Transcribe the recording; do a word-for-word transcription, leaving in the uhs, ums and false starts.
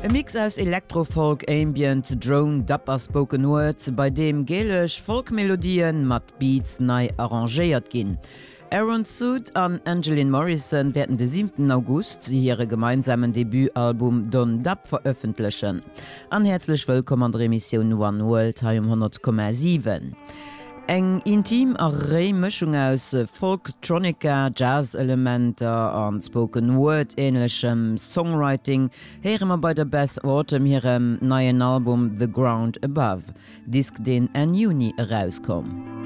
E Mix aus Electrofolk, Ambient, Drone, Dub a Spoken Word, bei deem gälesch Folkmelodien mat Beats nei arrangéiert ginn. Aaron Soote an Angeline Morrison wäerten de siwenten August hire gemeinsamen Debutalbum Don Dub verëffentlechen. An häerzlech wëllkomm an der Emissioun One World hei um honnert Komma siwen. Eng intim a réi Mëschung aus Folktronica, Jazz-Elementer an Spoken Word-änlechem Songwriting héiere mer bei der Beth Autumn hirem neien Album The Ground Above, Disk deen Enn Juni erauskomm.